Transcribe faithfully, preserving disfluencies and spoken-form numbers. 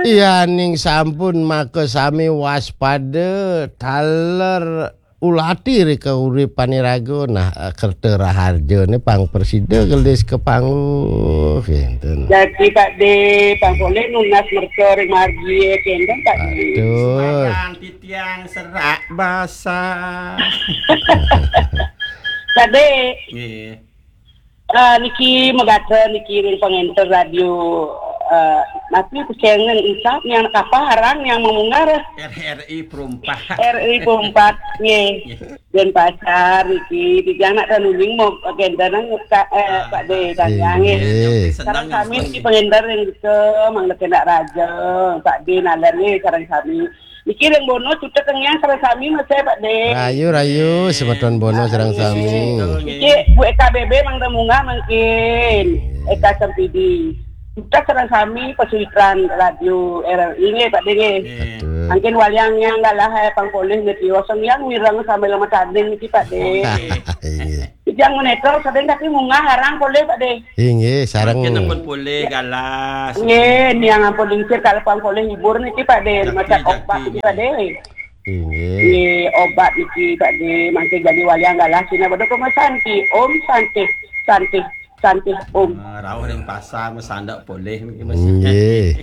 Yaning sampun maka sami waspada taler ulati ri kauripan iraga. Nah, kerta raharjane pang prasida gelis ka panggung kenten. Dadi Pak De, pang polih nunas merta ring margi kenten Pak De. Aduh. Sembahyang titiang serak basah. Pak De. Nggih. Ah, niki megatra niki ring pangenter radio, ah, napi pesengan ucap yang kapah arang yang memungar. R R I Perumpak. R R I Perumpak, nggih. Nggih. Denpasar niki, titiang nak tanuling mau gendanan ka-, eh, Pak De, tanya, nggih. Nggih. Sareng sami niki pangenter yang ke, mangda kena raja, Pak De nalar nggih, sareng sami. Niki ring Bono cutet tengah sareng sami masih Pak De. Rayu, rayu, semeton Bono sareng sami. Niki Bu Eka B B mangda munggah mangkin. Eka Sempidi. Cutet sareng sami pasuitran radio R R I nggih Pak De nggih. Betul. Mangkin waliang yang galah eh pang polih niki oseng yang mireng sambil lemet tanding niki Pak De. Nggih. Titiang menetel sedeng tapi munggah arang polih Pak De. Inggih, sareng. Mangkin ampun polih galas. Nggih, niang ampun lingsir kalau pang polih hibur niki Pak De, macam obat niki Pak De. Inggih. Nggih, obat niki Pak De, mangkin jadi wayang galas sina pada pemasanti. Om Santi, Santi, Santi, Om. Ah, rauh ring pasar masandak polih niki, Mas. Nggih.